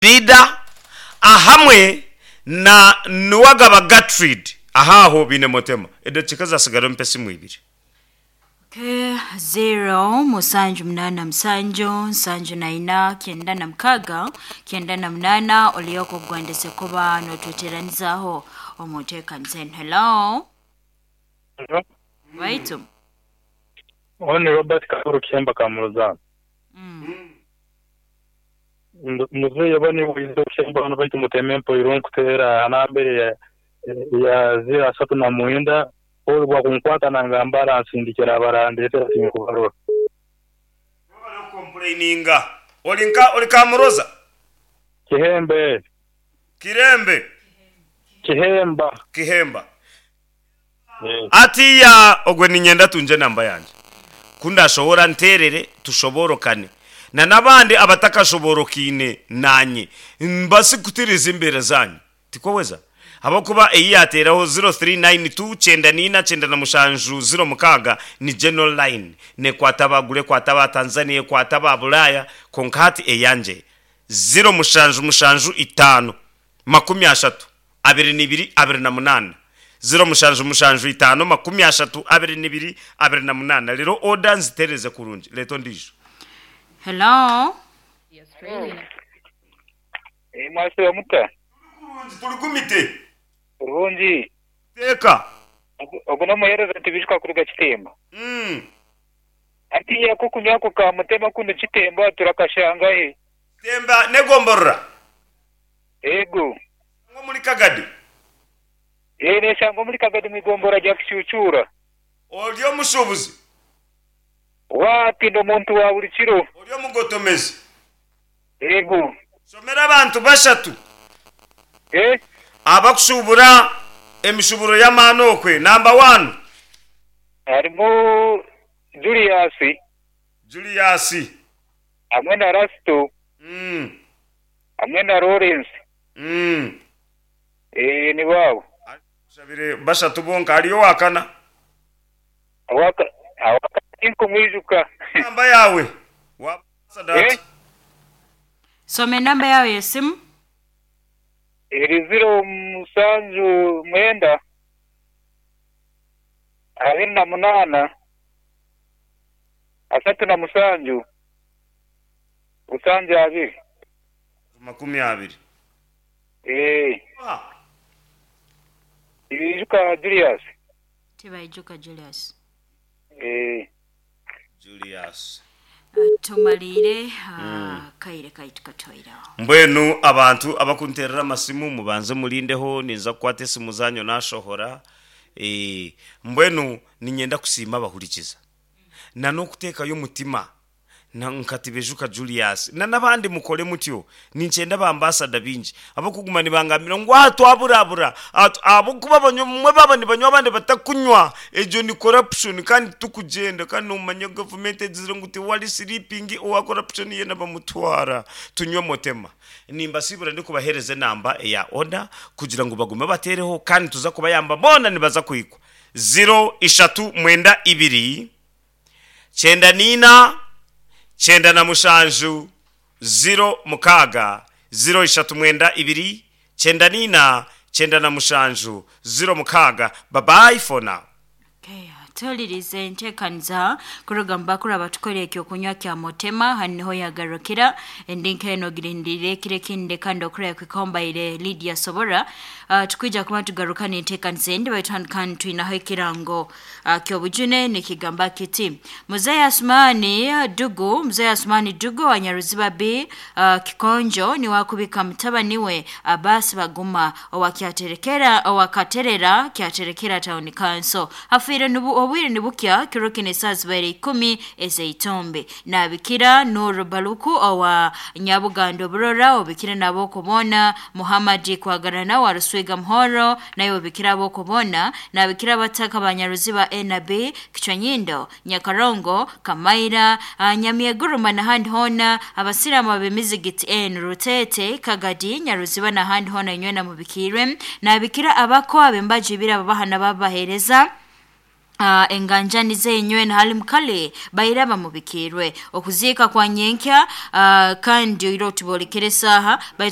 Leader ahamwe na Nuwagaba Gertrude aha aho baine Motema. Edakiika ezasigara ompe esimu ibiri. Okay, zero musanju munana musanju nsanju na ina kyenda na mukaga kyenda na munana olioka okugwendese kuba notweteranizaho omu nteekaniza enu. Hello waitu. Ogu ni Robert Kakuru Kihemba Kamuruzana. Muzeeyi oba niiwe oize okuhemba hanu baitu muteme mpoirwe nkuteera ha namba eri eya zeero asatu na mwenda, Paul obu akunkwata nangamba aransindikira abarandeetera tinkubarora. Nibo bari okukompureininga. Ori nka ori Kamuroza? Kihembe. Kirembe. Kihemba. Kihemba. Atiiya ogwe niinyenda atungye enamba yangye, ku ndashohora nteerere tushoboorokane na n'abandi abatakashoboorokaine naanye, mbaase kutiriiza embeera zaanyu. Tikwo weza? Ahabw'okuba ei yaateeraho 0392 94 97 06 ni general line, neekwata aba Gulu, ekwata aba Tanzania, ekwata aba Bulaaya, kwonka hati eyangye 0775 30 22 28, 0775 30 22 28 Reero oda nzitereeze kurungi. Reeta ondiijo. Hello. Mwasiiba muta? Turi kurungi, turi gumite. Kurungi. Teeka. Ogu n'omuheereza Tibijuka kuruga Kitemba. Hatiiya ak'okunywa ako ka Mutema kunu Kitemba turakashanga hi? Kitemba n'egomborora. Eego. Neshangwa omuri Kagadi. Ee, neshangwa omuri Kagadi omu igombora rya Kishuucuura. Ori omushuubuzi? Waati, ndi omuntu wa buri kiro. Ori omugotomezi? Eego. Shomera abantu bashatu Ee. abakushuubura emishuuburo y'amaani okwe. Namba wani. Harimu Julius. Julius. Hamwe na Rasito. Hamwe na Lawrence. Eeh nibo abo. Tushabire bashatu bonka. Hariyo owakana? Owakana tinkumwijuka. Enamba yaawe wabaasa data. Soma enamba yaawe y'esimu. Eri ziro musanju mwenda 28 37 72. 20. Eeh. Tibaijuka Julius. Tibaijuka Julius. Eeh. Julius. Tumariire akaire kaitu katuhweireho. Mbwenu abantu abakunteerera amasimu mubanze murindeho ninza kukwata esimu zaanyu naashohora. Mbwenu niinyenda kusiima abahurikiza na n'okuteekayo omutima Na nka Tibejuka Julius na n'abandi mukore mutyo. Ninkyenda ba ambasada baingi ab'okuguma nibangambira ngu aha twaburabura aha ahabw'okuba bamwe baaba nibanywa abandi batakunywa egyo ni corruption kandi titukugyenda kandi nomanya gavumenti egizire ngu tiwari sleeping owa corruption yeena bamutwara. Tunywe motema. Nimbasiibura ndikubaheereza enamba eya order kugira ngu bagume bateereho kandi nituza kubayamba boona nibaza kuhikwa. Ziro ishatu mwenda ibiri. 94, 97, 0 6, 0 3 9 2, 94 97, 0 6 Bye bye for now. Okay, Tuhulirize entekaniza kuruga mu bakuru abatukora ekyokunywa kya Motema. Hanu niho yagarukira endi nk'eno ogirindiriire ekiro ekindi kandi okuraya kwika mbaire Lydia Sobora. Tukwija kuba tugaruka n'entekaniza endi baitu hanu kandi twinaho ekirango ky'obujune nikigamba kiti Muzei Asumani Dugu, Muzei Asumani Dugu wa Nyaruziba B Kikonjo niwe akubika mutabani we Abbas Baguma owa Kyaterekera owa Katerera Kyaterekera Town Council. Afiire nubu obwire nibukya kiro kinu esaaha zibaire ikumi ez'eitumbi. Nabikira Nuru Baluku owa Nyabugando Burora obikire n'ab'okubona Muhammad Kwagarana wa Ruswiga Muhoro naye obikire ab'okubona nabikira abataka ba Nyaruziba A na B Kichwanyindo Nyakarongo Kamaira Nyamyeguruma n'ahandi hoona abasiraamu ab'emizigiti enu Rutete Kagadi Nyaruziba n'ahandi hoona inywena mubikiirwe nabikira abako ab'embaju ibiri ababaha n'ababaheereza. Enganjani zenywe na hali mukale baira bamubikirwe okuziika kwa nyenkya, kandi oire otubolekere esaha baitu.